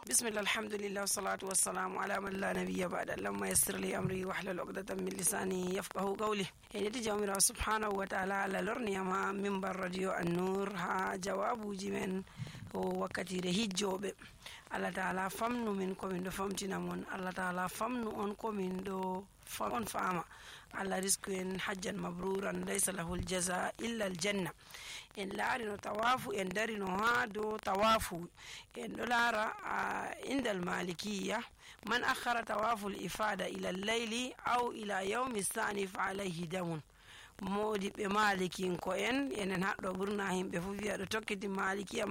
bismillah alhamdulillah wassalatu wassalamu ala man la nabiyya ba'da. Allahumma yassir li amri wahlul 'uqdatan min lisani yafqahu qawli. En yidi jawmira subhanahu wa ta'ala ala lorniyama minbar radio an-nur ha jawabuji men o wakkati de hijjobe. Allah ta'ala famnu min ko min do famtina mon. Allah ta'ala famnu on ko min do on fama. Allah risku en hajjan mabruran laysa lahu al-jazaa illa al-janna. En laari no tawafu en dari no ha do tawafu en do lara inda al-malikiyya man akhara tawafu al-ifada ila al-layli aw ila yawmi ath-thani fa alayhi damun. Modi be malikin ko enen haddo burna himbe fu wi'a do tokkiti malikin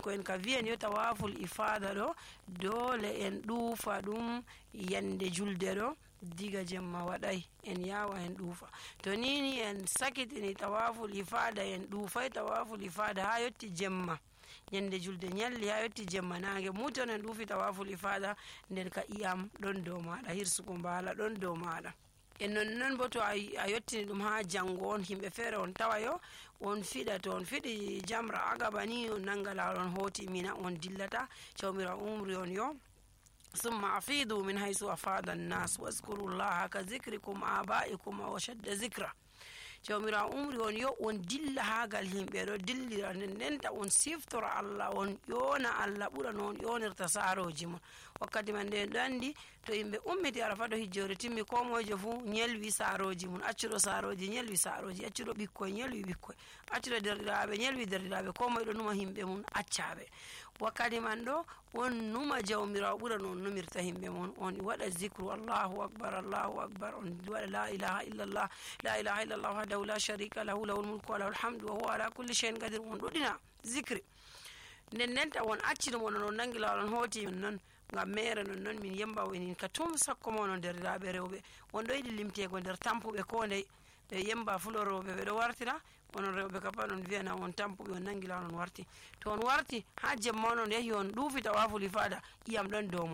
ko en ka wi'en yo tawaful ifada do dole en duufa dum yande julde do diga jemma wadai en yawa en duufa to nini en sakitini tawaful ifada en duufai tawaful ifada ha yotti jemma yande julde nyalli ha yotti jemma nange muton en duufi tawaful ifada nden ka iyam don do maada hirsugo bala don do maada. En non bo to a yottini dum ha jango on himbe fere on tawayo on fida to on fidi jamra agabani on nangala on hoti mina on dillata chawmira umri on yo summa afidu min haythu afada an-nas wazkurullaha ka zikrikum abaikum wa shadda zikra. Jawmira umri on yo on dilla hagal himbe do dillira nenta on siftora Allah on yona Allah bura non yonirta saroji mon wakkati man de dandi to himbe ummiti arafa do hijjore timmi ko mojo fu nyelwi saroji mon acciro saroji nyelwi saroji acciro bikkoy nyelwi bikkoy acciro derdiraabe nyelwi derdiraabe ko moy do numa himbe mon accabe wakkati man do on numa jawmira bura non numirta himbe mon on wada zikru Allahu akbar on wada la ilaha illallah wahdahu la sharika lahu lahul mulku wa lahul hamdu wa huwa ala kulli shay'in qadir. On dodina zikri nenta won accino mon non nangila on hoti non ngam mere non min yemba woni ka tum sakko mon der laabe rewbe on do yidi limtego der tampube ko ndey be yemba fulorobe be do wartira on rewbe ka panon viana on tampube on nangila on warti to on warti ha jemma non yahi on duufi tawaful ifada iyam don domo